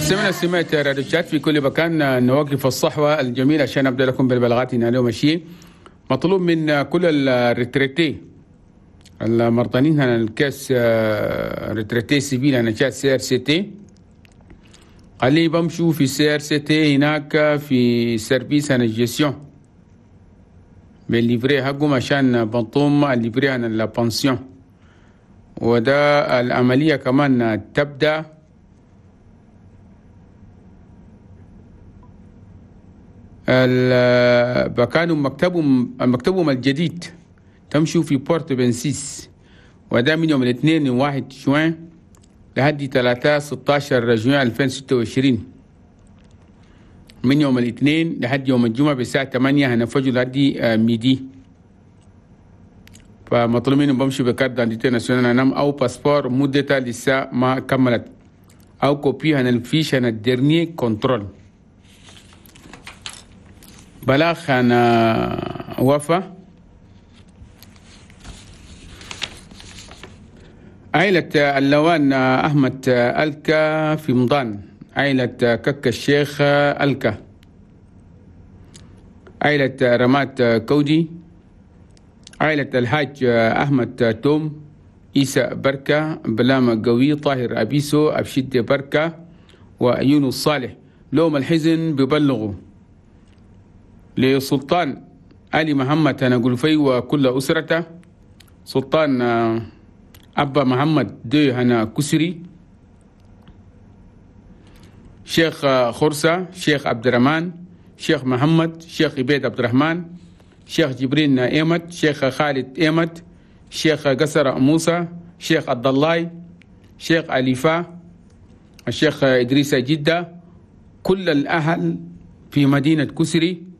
مستمعينا سمعت راديو تشاد في كل مكان، نوقف الصحوة الجميلة عشان أبدأ لكم بالبلاغات اليوم. الشيء مطلوب من كل ال retraités المرضانين هنا ال caisse retraite civile هنا تشاد CRCT، قال بمشوا في CRCT هناك في service هنا gestion بال livret حقهم عشان بنطوم ال livret هنا la pension، وده العملية كمان تبدأ بكانوا مكتبهم الجديد تمشوا في Porte 26، وده من يوم الاثنين 1 جوان لحد 3 16 جوان 2026، من يوم الاثنين لحد يوم الجمعة بالساعة 8 هنفجوا لحد midi. فمطلوب منهم بمشي ب carte d'identité nationale نم أو passeport مدتها لسه ما كملت، أو copie هنا ال fiche هنا ال dernier contrôle. بلاغ أنا وفا عائلة اللوان أحمد ألكا في مضان، عائلة كك الشيخ ألكا، عائلة رمات كودي، عائلة الحاج أحمد توم، إيسا بركة، بلامة قوي، طاهر أبيسو، أبشد بركة، ويونس صالح. لوم الحزن ببلغوا لسلطان علي محمد هنا وكل أسرته، سلطان أبا محمد دي هنا كسري، شيخ خرسة، شيخ عبد الرحمن، شيخ محمد، شيخ عبيد عبد الرحمن، شيخ جبرين إيمت، شيخ خالد إيمت، شيخ قصر موسى، شيخ عبد الله، شيخ أليفا، الشيخ إدريس جدة، كل الأهل في مدينة كسري،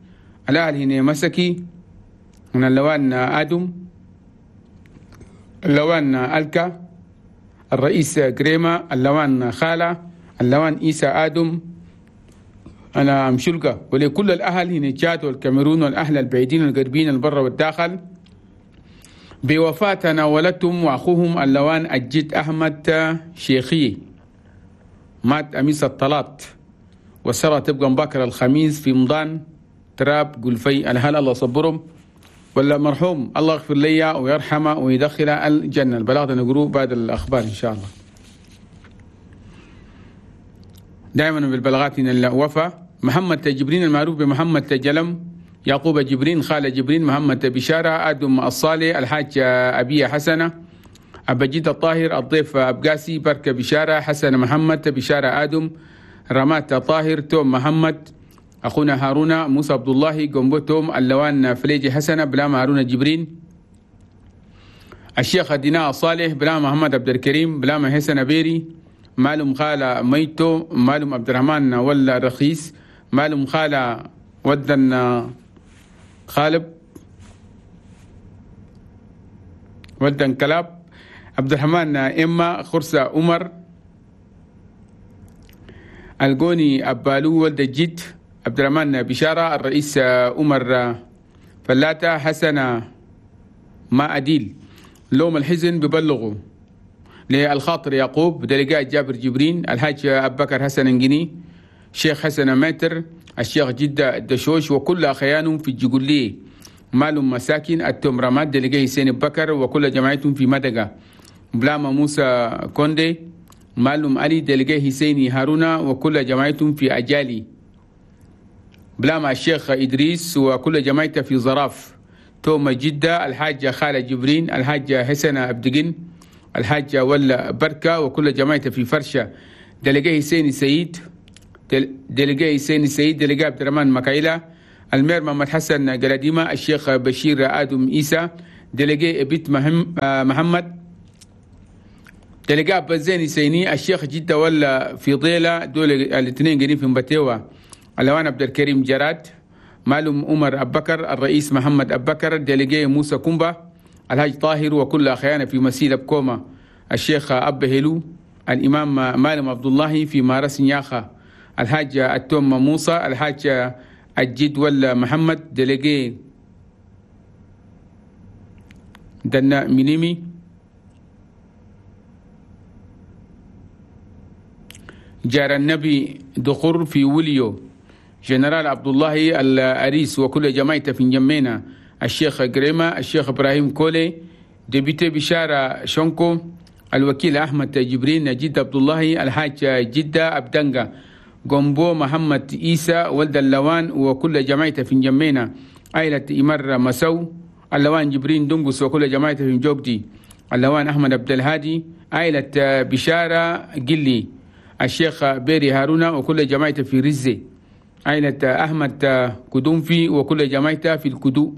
الأهل هنا مسكي من اللوان آدم، اللوان ألكا، الرئيس كريمة، اللوان خالة، اللوان إيسا آدم، أنا مشلقة. ولكل الأهل هنا تشاد والكاميرون والأهل البعيدين والقريبين البر والداخل بوفاة تناولتهم وأخوهم اللوان الجد أحمد شيخي، مات أميس الطلاط، والسرى تبقى مبكر الخميس في مضان تراب قلفي. الهل الله صبرهم ولا مرحوم الله يغفر لي ويرحمه ويدخله الجنة. البلاغ نقروه بعد الأخبار إن شاء الله. دائما بالبلاغات إن الوفاة محمد جبرين المعروف بمحمد جلم، يعقوب جبرين، خالد جبرين، محمد بشارة، آدم الصالح، الحاج أبي حسنة، أبجيد الطاهر، الضيف أبقاسي، بركة بشارة، حسن محمد بشارة، آدم رمات طاهر، توم محمد، أخونا هارون، موسى عبد الله، قنبوتهم، اللوان فليجي حسنة، بلام هارون جبرين، الشيخ ديناء صالح، بلام محمد عبد الكريم، بلام حسن بيري، مالم خالة ميتو، مالم عبد الرحمن ولا رخيص، مالم خالة ودن خالب ودن كلاب، عبد الرحمن إما، خرسة عمر، الجوني أبالو ولد الجد، عبد الرحمن بشارة، الرئيس عمر فلاتة، حسن ما أديل. لوم الحزن ببلغوا للخاطر يعقوب، دلقاء جابر جبرين، الحاج أبو بكر حسن انجني، شيخ حسن ماتر، الشيخ جدة الدشوش، وكل أخيانهم في الجقولية، مالهم مساكن التوم رماد، دلقاء حسين بكر وكل جماعتهم في مدقة، بلاما موسى كوندي، مالهم علي، دلقاء حسيني هارونا وكل جماعتهم في أجالي، بلاما الشيخ إدريس وكل جماعته في زراف، توم جدة، الحاجة خالة جبرين، الحاجة حسنة أبدقين، الحاجة ولا بركة وكل جماعته في فرشة، دلقاء حسين سيد، دلقاء حسين سيد، دلقاء عبد الرحمن مكايلة، المير محمد حسن قلاديمة، الشيخ بشير آدم إيسى، دلقاء بيت محمد، دلقاء بزين سيني، الشيخ جدة ولا في ضيلة، دول الاثنين قريب في مبتوى، اللوان عبد الكريم جراد، معلوم عمر أبكر، الرئيس محمد أبكر، دلقاء موسى كومبا، الحاج طاهر وكل أخيانا في مسيلة بكوما، الشيخ أب هلو، الإمام مالم عبد الله في مارس نياخا، الحاج التوم موسى، الحاج الجد ولا محمد، دلقاء دنا مينيمي، جار النبي دخور في وليو، جنرال عبد الله الأريس وكل جماعته في جمينا، الشيخ جريمة، الشيخ إبراهيم كولي، député بشارة شونكو، الوكيل أحمد جبرين، جد عبد الله، الحاج جدة أبدنجا، جومبو محمد إيسى ولد اللوان وكل جماعته في جمينا، عائلة إمر مسو، اللوان جبرين دنقس وكل جماعته في جوجدي، اللوان أحمد عبد الهادي، عائلة بشارة جلي، الشيخ بيري هارونا وكل جماعته في رزي، عائلة أحمد كدومفي وكل جماعته في الكدو،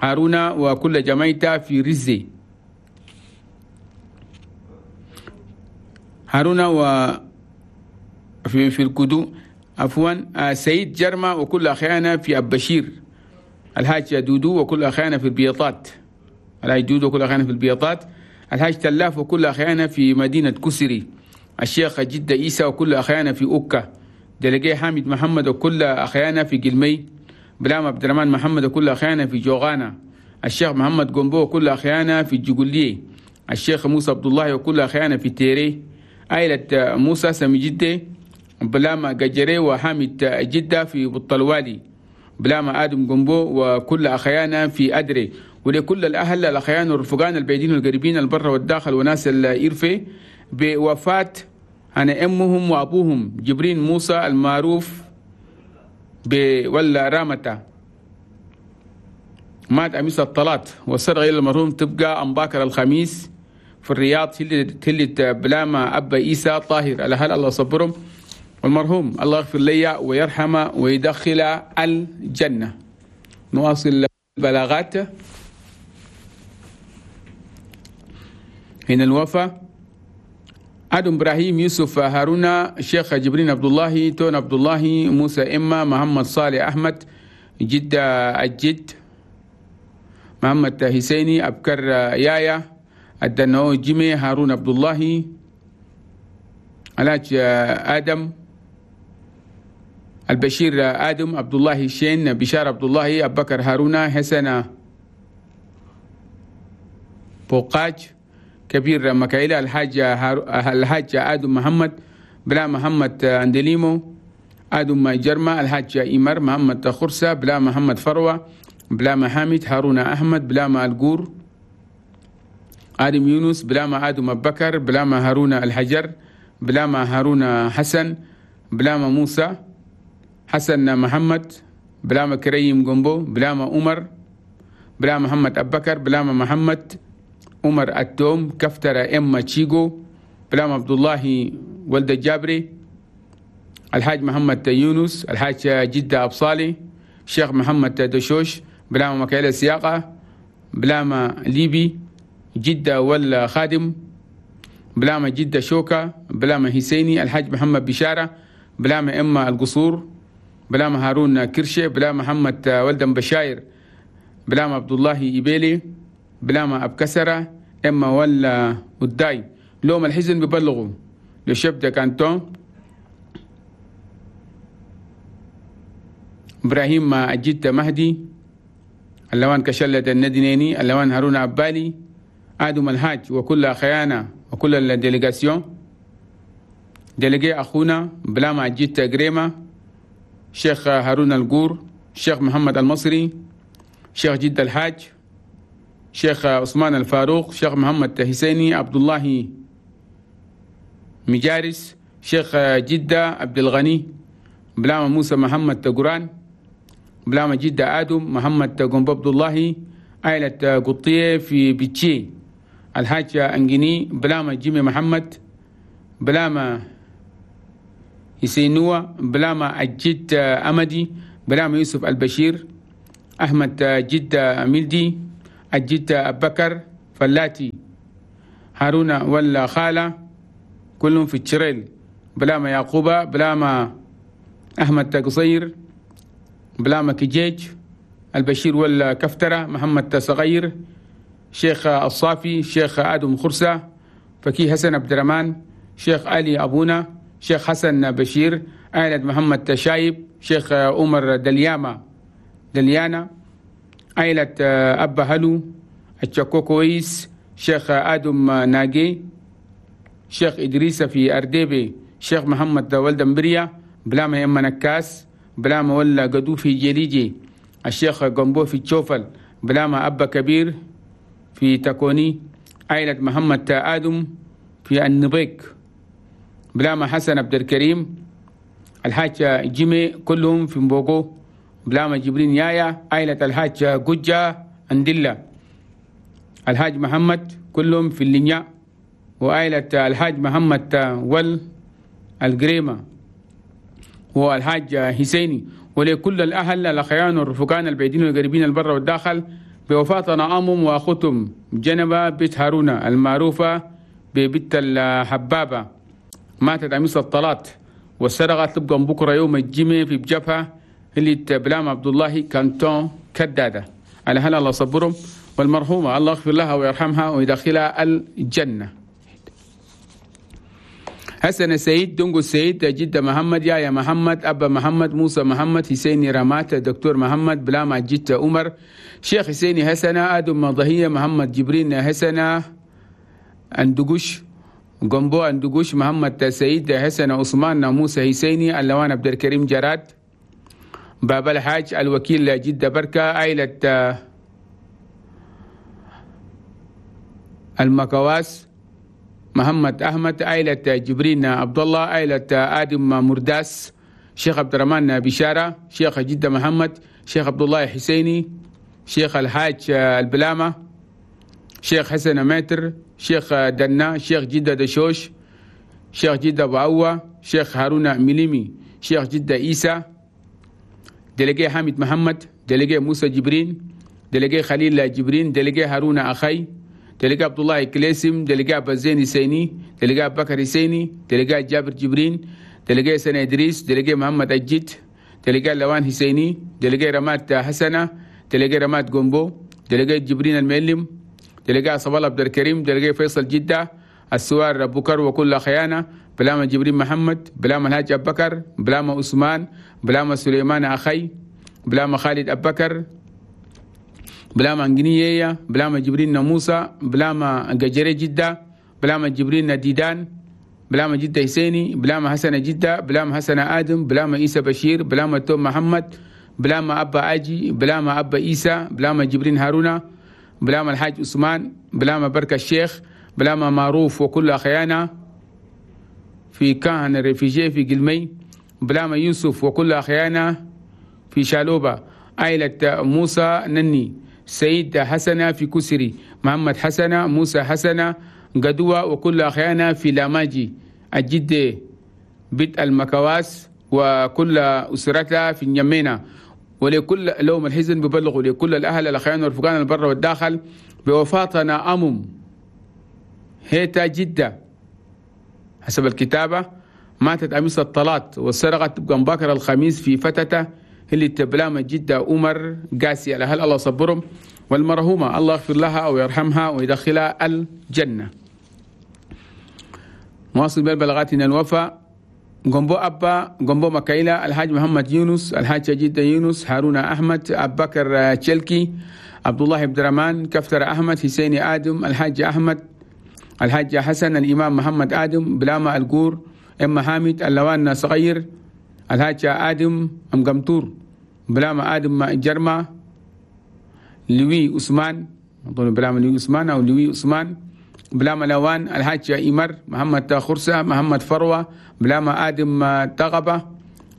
هارونا وكل جماعته في رزي، هارونا و في الكدو عفوا، سيد جرمة وكل أخيانا في أبشير، الحاج دودو وكل أخيانا في البيطات، الحاج دودو وكل أخيانا في البيطات، الحاج تلاف وكل أخيانا في مدينة كسري، الشيخ جدة إيسى وكل أخيانا في أوكا، دلقي حامد محمد وكل أخيانا في قلمي، بلام عبد الرحمن محمد وكل أخيانا في جوغانا، الشيخ محمد قنبو وكل أخيانا في الجقولية، الشيخ موسى عبد الله وكل أخيانا في تيري، عائلة موسى سمي جدة، بلام قجري وحامد جدة في بطلوالي، بلام آدم قنبو وكل أخيانا في أدري، ولكل الأهل الأخيان والرفقان البعيدين والقريبين البر والداخل وناس الإرفي بوفاة أنا أمهم وأبوهم جبرين موسى المعروف بولا رامتا، مات أميس الطلات، والصدغة إلى المرحوم تبقى أمباكر الخميس في الرياض تلت بلاما أبا إيسى طاهر. الأهل الله صبرهم، والمرحوم الله يغفر لي ويرحمه ويدخل الجنة. نواصل البلاغات. هنا الوفاة آدم إبراهيم يوسف هارونا، الشيخ جبرين عبد الله، تون عبد الله، موسى إما، محمد صالح أحمد، جدة الجد، محمد حسيني، أبكر يايا، الدنو جيمي، هارون عبد الله، علاج آدم، البشير آدم، عبد الله شين، بشار عبد الله، أبكر هارونا، حسن بوقاج، كبير مكايلة، الحاج آدم محمد، بلا محمد أندليمو، آدم جرمة، الحاج إمر، محمد خرسة، بلا محمد فروة، بلا محامد، هارون أحمد، بلا ما الجور، آدم يونس، بلا ما آدم أبكر، بلا ما هارون الحجر، بلا ما هارون حسن، بلا ما موسى حسن محمد، بلا ما كريم جنبو، بلا ما عمر، بلا محمد أبكر، بلا ما محمد عمر التوم، كفترة إما تشيغو، بلام عبد الله ولد الجابري، الحاج محمد يونس، الحاج جدة أبصالي، الشيخ محمد دشوش، بلام مكايلة السياقة، بلام ليبي، جدة ولا خادم، بلام جدة شوكة، بلام حسيني، الحاج محمد بشارة، بلام إما القصور، بلام هارون كرشة، بلام محمد ولدن بشاير، بلام عبد الله إبيلي، بلام أبكسرة، إما ولا وداي. لوم الحزن ببلغوا لشبدة كانتون إبراهيم أجيت مهدي، اللوان كشلة الندينيني، اللوان هارون عبالي، آدم الحاج وكل خيانة وكل ال délégation، délégué أخونا بلاما أجيت جريمة، شيخ هارون الجور، شيخ محمد المصري، شيخ جد الحاج، شيخ عثمان الفاروق، شيخ محمد حسيني، عبد الله مجارس، شيخ جدة عبد الغني، بلاما موسى محمد تقران، بلاما جدة آدم محمد قنب عبد الله، عائلة قطية في بيتشي، الحاج أنجني، بلاما جيمي محمد، بلاما حسينوة، بلاما الجد أمدي، بلاما يوسف البشير، أحمد جدة ميلدي، الجد أبكر فلاتي، هارون ولا خالة، كلهم في التشريل، بلاما يعقوبة، بلاما أحمد قصير، بلاما كجيج، البشير ولا كفترة، محمد صغير، شيخ الصافي، شيخ آدم خرسة، فكي حسن عبد الرحمن، شيخ علي أبونا، شيخ حسن بشير، عائلة محمد شايب، شيخ عمر دلياما دليانا، عائلة أبا هلو التشاكوكويس، شيخ آدم ناجي، شيخ إدريس في أرديبي، شيخ محمد ولد مبريا بلاما يما نكاس بلاما ولا قدو في جليجي الشيخ قنبو في تشوفل بلاما أبا كبير في تكوني عائلة محمد آدم في النبيك بلاما حسن عبد الكريم الحاج جيمي كلهم في مبوغو بلاما جبرين يايا عائلة الحاج جوجا اندلا الحاج محمد كلهم في اللينيا وعائلة الحاج محمد ول القريمة والحاج حسيني. ولكل الأهل الأخيان والرفقان البعيدين والقريبين البر والداخل بوفاة نعامهم وأخوتهم جنبة بيت هارونة المعروفة ببيت الحبابة، ماتت أمس الطلات والسرقة تبقى بكرة يوم الجمعة في بجبهة اللي بلام عبد الله كانتون كدادة. على هلا الله صبرهم، والمرحومة الله يغفر لها ويرحمها ويدخلها الجنة. حسن السيد دونغو السيد جدة محمد يا محمد أبا محمد موسى محمد حسيني رمات دكتور محمد بلاما جدة عمر شيخ حسيني حسنة آدم مضهية محمد جبرين حسنة أندقش قنبو أندقش محمد سيد حسن عثمان موسى حسيني اللوان عبد الكريم جراد بابا الحاج الوكيل جدة بركة عائلة المكواس محمد أحمد عائلة جبرين عبد الله عائلة آدم مرداس شيخ عبد الرحمن بشارة شيخ جدة محمد شيخ عبد الله حسيني شيخ الحاج البلامة شيخ حسن ماتر شيخ دنا شيخ جدة دشوش شيخ جدة بعوة شيخ هارون مليمي شيخ جدة إيسى دلقي حامد محمد دلقي موسى جبرين دلقي خليل جبرين دلقي هارون أخي تلقى عبد الله كليسم تلقى أبا زين حسيني تلقى أبو بكر حسيني تلقى جابر جبرين تلقى سنة إدريس تلقى محمد أجيت تلقى لوان حسيني تلقى رمات حسنة تلقى رمات قنبو تلقى جبرين المعلم تلقى صبال عبد الكريم تلقى فيصل جدة السوار أبو بكر وكل خيانة بلاما جبرين محمد بلاما الحاج أبو بكر بلاما عثمان بلاما سليمان أخي بلاما خالد أبو بكر بلاما انجنية بلاما جبرين موسى بلاما ججري جدة بلاما جبرين ديدان بلاما جدة حسيني بلاما حسن جدة بلاما حسن آدم بلاما إيسى بشير بلاما توم محمد بلاما أبا أجي بلاما أبا إيسى بلاما جبرين هارونا بلاما الحاج عثمان بلاما بركة الشيخ بلاما معروف وكل أخيانا في كاهن الرفيجي في قلمي بلاما يوسف وكل أخيانا في شالوبة عائلة موسى نني سيد حسنة في كسري محمد حسنة موسى حسنة قدوة وكل أخيانا في لاماجي الجدة بيت المكواس وكل أسرتها في اليمينة. ولكل لوم الحزن ببلغوا لكل الأهل الأخيان والرفقان البر والداخل بوفاتنا أمم هيتا جدة حسب الكتابة ماتت أمس الطلات والسرقة تبقى مبكر الخميس في فتته اللي تبلام جدة عمر قاسي. على هل الله صبرهم، والمرحومة الله يغفر لها ويرحمها ويدخلها الجنة. مواصل بالبلاغاتنا الوفاء قنبو أبا قنبو مكايلة الحاج محمد يونس الحاج جدة يونس هارون أحمد أبو بكر تشلكي عبد الله عبد الرحمن كفتر أحمد حسين آدم الحاج أحمد الحاج حسن الإمام محمد آدم بلاما القور أم حامد اللوان صغير الحاج آدم أم قمتور بلاما آدم جرما لوي عثمان أظن بلاما لوي عثمان أو لوي عثمان بلاما لوان الحاج إمر محمد خرسة محمد فروة بلاما آدم تغبة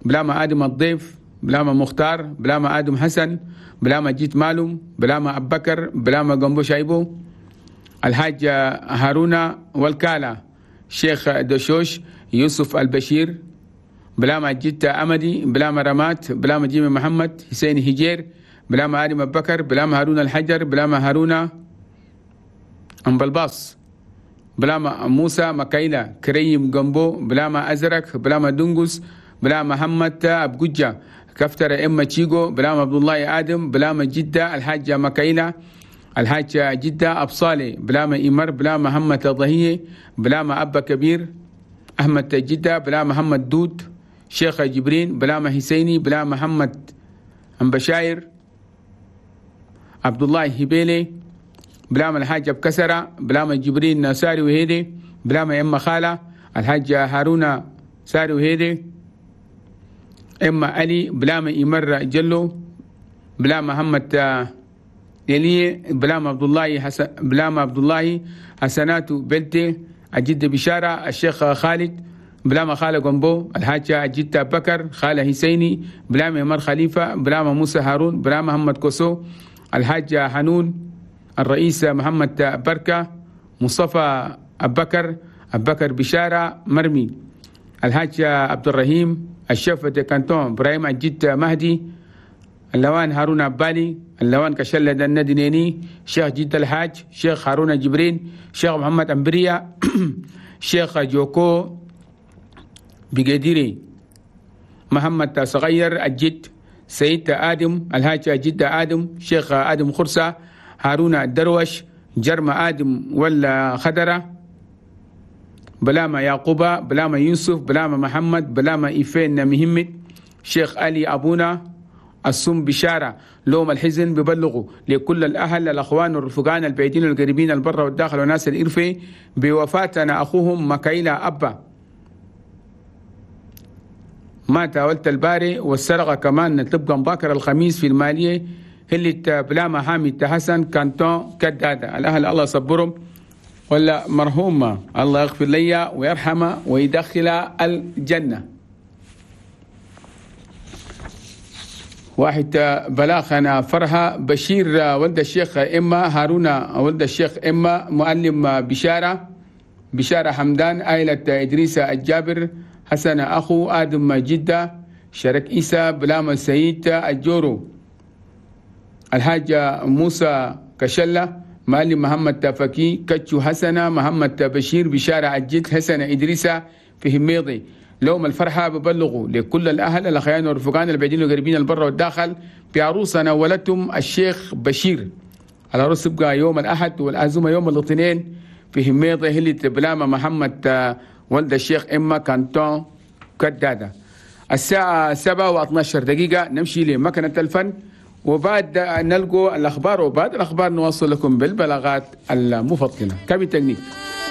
بلاما آدم الضيف بلاما مختار بلاما آدم حسن بلاما جيت مالوم بلاما أبو بكر بلاما قنبو شايبو الحاج هارون والكالة شيخ دشوش يوسف البشير بلاما جيت أمدي بلاما رمات بلاما جيمي محمد حسين هجير بلاما آدم أبو بكر بلاما هارون الحجر بلاما هارون أمبلباص بلاما موسى مكايلة كريم جنبو بلاما أزرق بلاما دنجس بلاما محمد أبجوجة كفتر إما تشيغو بلاما عبد الله آدم بلاما جدة الحاجة مكايلة الحاجة جدة أبصالي بلاما إمر بلاما محمد الضهية بلاما أبا كبير أحمد جدة بلاما محمد دود شيخ جبرين بلاما حسيني بلاما محمد أمبشاير عبد الله هبيلي بلاما الحاج بكسرة بلاما جبرين نساري وهيدي بلاما إما خالة الحاج هارون ساري وهيدي إما علي بلاما إمر جلو بلا محمد يلي بلا عبد الله حسن بلا عبد الله حسنات بلتي الجد بشارة الشيخ خالد بلا خالد قنبو الحاج الجد بكر خالة حسيني بلا عمر خليفة بلا موسى هارون بلا محمد كوسو الحاج حنون الرئيس محمد بركة مصطفى أبكر أبكر بشارة مرمي الحاج عبد الرحيم الشيف كانتون إبراهيم الجد مهدي اللوان هارون عبالي اللوان كشلة الندنيني شيخ جد الحاج شيخ هارون جبرين شيخ محمد أمبريا شيخ جوكو بقديري محمد صغير الجد سيد آدم الحاج جد آدم شيخ آدم خرسة هارون الدروش جرم آدم ولا خدرة بلاما يعقوبة بلاما يوسف بلاما محمد بلاما إيفين مهمت شيخ علي أبونا السم بشارة لوم الحزن ببلغوا لكل الأهل الأخوان والرفقان البعيدين والقريبين البر والداخل وناس الإرفي بوفاتنا أخوهم مكايلا أبا مات ولت الباري والسرقة كمان تبقى مباكر الخميس في المالية هلت بلاما حامد حسن كانتون كدادة. الأهل الله صبرهم ولا مرحومة الله يغفر لي ويرحمه ويدخل الجنة. واحد بلاغنا فرحة بشير ولد الشيخ إما هارون ولد الشيخ إما معلم بشارة بشارة حمدان آيلة إدريس الجابر حسن أخو آدم جدة شرك إيسى بلام السيد الجورو الحاج موسى كشلة معلم محمد تفكي كتشو حسنة محمد بشير بشارة الجد حسن إدريس في هميضي. لوم الفرحة ببلغوا لكل الأهل الأخيان والرفقان البعيدين والقريبين البر والداخل بعروسنا ولدتم الشيخ بشير. العروس تبقى يوم الأحد والعزومة يوم الاثنين في هميضة هلة بلامة محمد ولد الشيخ إما كانتون كدادة. الساعة 7:12 نمشي لمكنة الفن وبعد نلقوا الأخبار، وبعد الأخبار نواصل لكم بالبلاغات المفضلة. كابي تكنيك.